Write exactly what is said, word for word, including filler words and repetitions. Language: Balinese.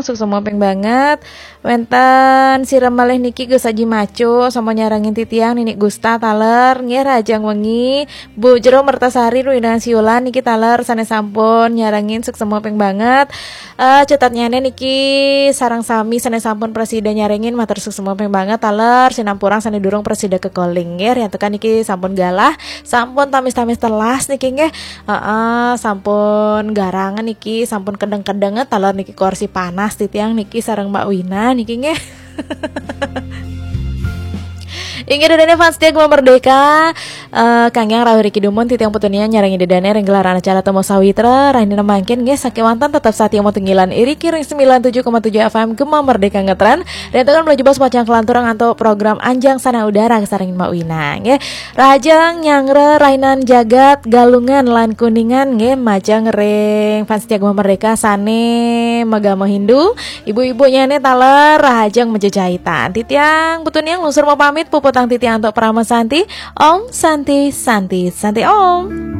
Suksma ping banget. Wénten sira malih niki Gus Aji Macu, sampun nyarengin titiang Nini Gusta taler, nggih rahajeng wengi. Bu Jero Mertasari Ruinang Siulan niki taler sané sampun nyarengin suksma ping banget. Eh, catatnyané niki sareng sami sané sampun prasida nyarengin matur suksma ping banget taler, sinampurang sané durung prasida kekoling nggih. Riantukan niki sampun galah, sampun tamis-tamis telas niki nggih. Heeh, sampun garang niki, sampun kedeng-kedeng taler niki kursi panas titiang niki sareng Mbak Wina niki nggih. Inggih dadané fans setia Gema Merdeka, eh, kangge rawuh riki dumun titiang putu nia nyarengin dadané ring gelaran acara Temu Sawitra, rahina mangkin nggih sakéwanten tetep satia matunggilan iriki ring sembilan tujuh koma tujuh F M Gema Merdeka ngetren. Riantukan menuju bos pacang kelanturang antuk program Anjang Sana Udara kasarengin Mbak Wina nggih. Rahajeng nyanggra rahinan jagat Galungan lan Kuningan nggih, majeng ring fans setia Gema Merdeka sané magama Hindu, ibu-ibu nyané taler rahajeng majejahitan. Titiang putu nia nglungsur mapamit, puputang titiang antuk Parama Santi. Om Santi, Santi, Santi Om.